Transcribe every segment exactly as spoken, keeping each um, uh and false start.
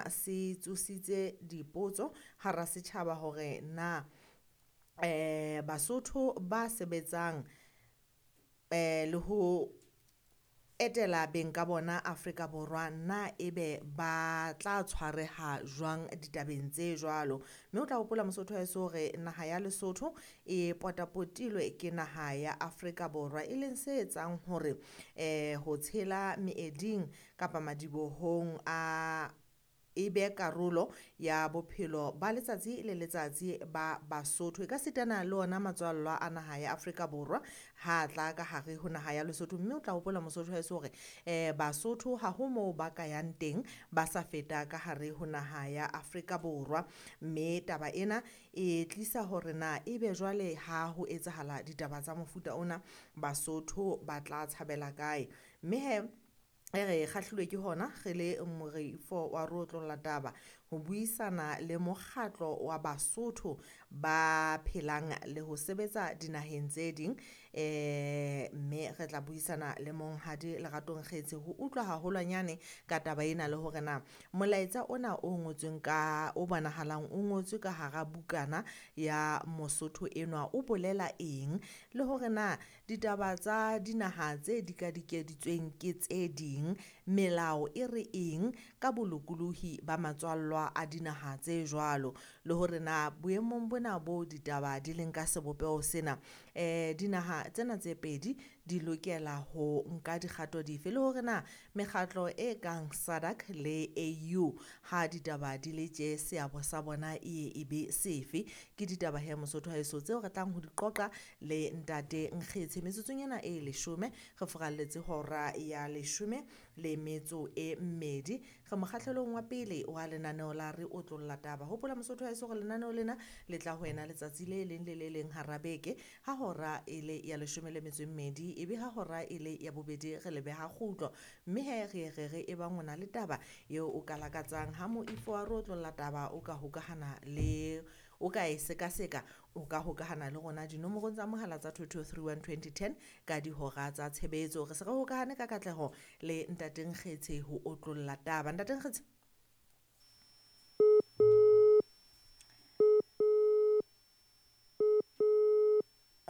Se tsositse dipotso hara setjhaba hore na eh Basotho ba sebetsang eh le ho etela beng ka bona Afrika Borwa na ebe ba tla tshwareha jwang ditabeng tse jwalo. Mme o tla hopola Mosotho wa heso hore naha ya Lesotho e potapotilwe ke naha ya Afrika Borwa, e leng se etsang hore eh ho tshela meeding kapa madibohong a e be karolo ya bophelo ba letsatsi le letsatsi ba Basotho. E ka sitana le ona matswallwa a naha ya Afrika Borwa ha tla ka hare ho naha ya Lesotho. Mme o tla hopola Mosotho wa heso hore eh Basotho ha ho moo ba ka yang teng ba sa feta ka hare ho naha ya Afrika Borwa. Mme taba ena e tlisa hore na ebe jwale ha ho etsahala ditaba tsa mofuta ona Basotho ba tla tshabela kae. Mme he re kgahlilwe ke hona re le moreifo wa re otlolla taba ho buisana le mokgatlo wa Basotho ba phelang le ho sebetsa dinaheng tse ding eh mme re tla buisana le monghadi Lerato Nkgetse ho utlwa haholwanyane ka taba ena le hore na molaetsa ona o ngotsweng ka o bonahalang o ngotswe ka hara bukana ya Mosotho enwa o bolela eng, le hore na ditaba tsa dinaha tse dikadikeditsweng ke tse ding melao e re eng ka bolokolohi ba matswallwa a dinaha tse jwalo, le hore na boemong bona bo ditaba di leng ka sebopeho sena eh dinaha tsena tse pedi di lokela ho nka dikgato dife, le hore na mekgatlo e kang SADC le A U ha ditaba di le tje seabo sa bona e e be sefe. Ke ditaba he Mosotho wa heso tseo re tlang ho di qoqa le ntate Nkgetse metsotsong ena e leshome re furalletse hora ya leshome le metso e mmedi. Re mokgahlelong wa pele wa lenaneo la re otlolla taba. Hopola Mosotho wa heso hore lenaneo lena le tla ho wena letsatsi le leng le le leng hara beke ha hora e le ya leshome le metso e mmedi, ebe ha hora e le ya bobedi re le beha kgutlo. Mme he re re re e bang o na le taba eo o ka lakatsang ha moifo wa re otlolla taba o ka hokahana le o ka e sekaseka, o ka hokahana le rona dinomorong tsa mohala tsa two two three one twenty ten ka dihora tsa tshebetso. Re se re hokahane ka katleho le ntate Nkgetse ho otlolla taba. Ntate Nkgetse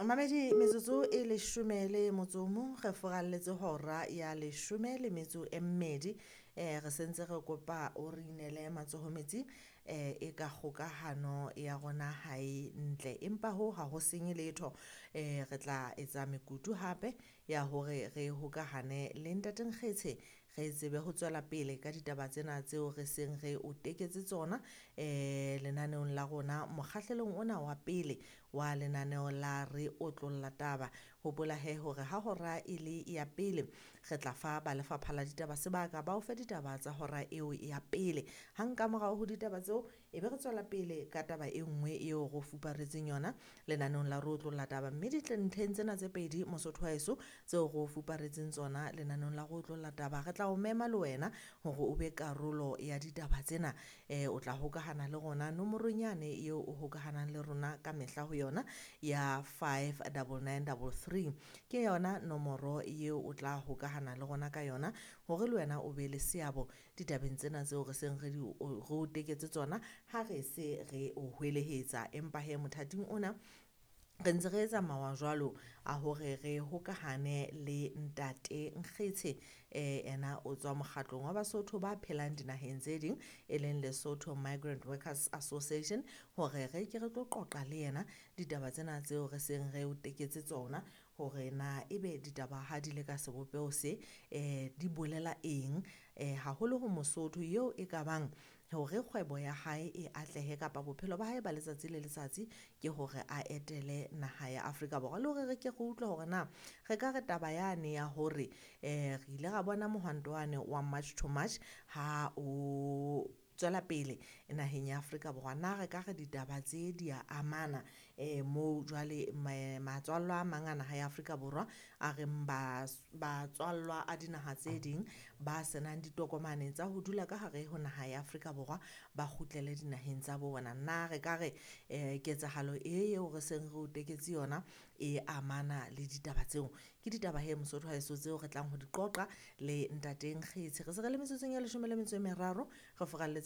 mamedi metsotso e leshome le motso o mong re furalletse hora ya leshome le metso e mmedi. Eh re sentse re kopa o re inele matsoho metsing eh e ka kgokahano ya rona ha e ntle, empa hoo ha ho senye letho. Eh re tla etsa mekutu hape ya hore re hokahane le ntate Nkgetse re tsebe ho tswela pele ka ditaba tsena tseo re seng re o teketse tsona eh lenaneong la rona mokgahlelong ona wa pele wa lenaneo la re otlolla taba. Hopola he hore ha hora e le ya pele re tla fa ba lefapha la ditaba sebaka ba o fe ditaba tsa hora eo ya pele. Hang ka morao ho ditaba tseo e be re tswela pele ka taba e nngwe eo re o fuparetseng yona lenaneong la re otlolla taba. Mme ntlheng tsena tse pedi Mosotho wa heso tseo re o fuparetseng tsona lenaneong la re otlolla taba, re tla o mema le wena hore o be karolo ya ditaba tsena. Eh o tla hokahana le rona nomorong yane eo o hokahanang le rona ka mehla ho yona ya five double nine double three. Ke yona nomoro eo o tla hokahana le rona ka yona hore le wena o be le seabo ditabeng tsena tseo re seng re di re o teketse tsona ha re se re o hwelehetsa. Empa he mothating ona re ntse re etsa mawa jwalo a hore re hokahane le ntate Nkgetse eh ena o tswa mokgatlong wa Basotho ba phelang dinaheng tse ding e leng Lesotho Migrant Workers Association hore re ke re tlo qoqa le yena ditaba tsena tseo re seng re o teketse tsona hore na ebe ditaba ha di le ka sebopeho se eh di bolela eng eh haholo ho Mosotho eo e ka bang hore kgwebo ya hae e atlehe kapa bophelo ba hae ba letsatsi le letsatsi ke hore a etele naha ya Afrika Borwa. Le hore re ke re utlwe hore na re ka re taba yane ya hore eh re ile ra bona mohwanto wane wa March to March ha o tswela pele naheng ya Afrika Borwa, na re ka re ditaba tse di a amana eh moo jwale matswallwa a mang a naha ya Afrika Borwa a reng batswallwa a dinaha tse ding ba senang ditokomane tsa ho dula ka hare ho naha ya Afrika Borwa ba kgutlele dinaheng tsa bona. Na re ka re eh ketsahalo e eo re seng re o teketse yona e amana le ditaba tseo? Ke ditaba he Mosotho wa heso tseo re tlang ho di qoqa le ntate Nkgetshe. Re se re le metsotsong e leshome le metso e meraro, re furalletse